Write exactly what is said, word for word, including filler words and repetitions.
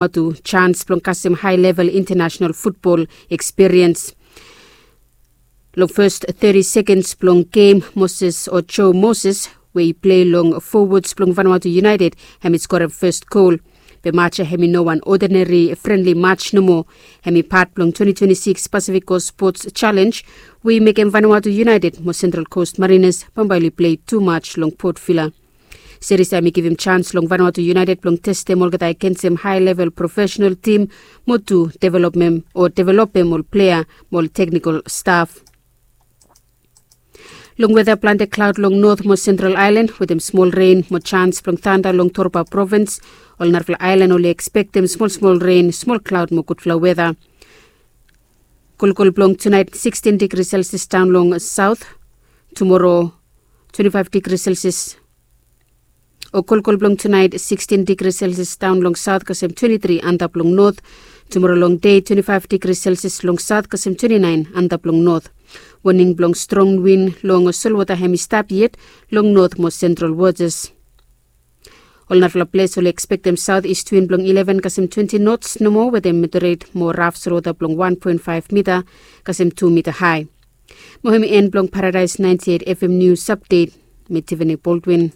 Vanuatu jans blong kasem hae level intanasenal futbol ekspiriens. Long fes teti sekens blong gem, Moses o Joe Moses we i plei long fowats blong Vanuatu United, hem i skorem fes gol. Be maj ya hem i no wan odinari frenli maj nomo. Hem i pat blong twenti twenti sikis Pasifik Kos Spots Jalenj we i mekem Vanuatu United mo Sentral Kos Marinas bambae oli plei tu maj long Port Vila. Seris ya hem i givim jans long Vanuatu United blong testem olgeta agensem hae level profesenal tim mo tu developem o developem ol plea mo ol teknikol staf. Long weta, plante klaod long not mo sentral aelan wetem smol ren mo jans blong tanda long Torba provins. Ol narafala aelan oli ekspektem smol smol ren, smol klaod mo gudfala weta. Kolkol blong tunaet sikstin digri selsias daon long saot. Tumoro twenti faef digri selsias. O kolkol blong tunaet sikstin digri selsias daon long saot kasem twenti tri antap long not. Tumoro long dei twenti faef digri selsias long saot kasem twenti naen antap long not. Woning blong strong win long solwota hem i stap yet long not mo sentral wotas. Ol narafala ples oli ekspektem saot ist win blong ileven kasem twenti nots nomo wetem moderet mo raf solwota blong wan poen faef mita kasem tu mita hae. Mo hem i en blong Paradaes naenti eit FM nius apdet. Mi Tiffany Baldwin.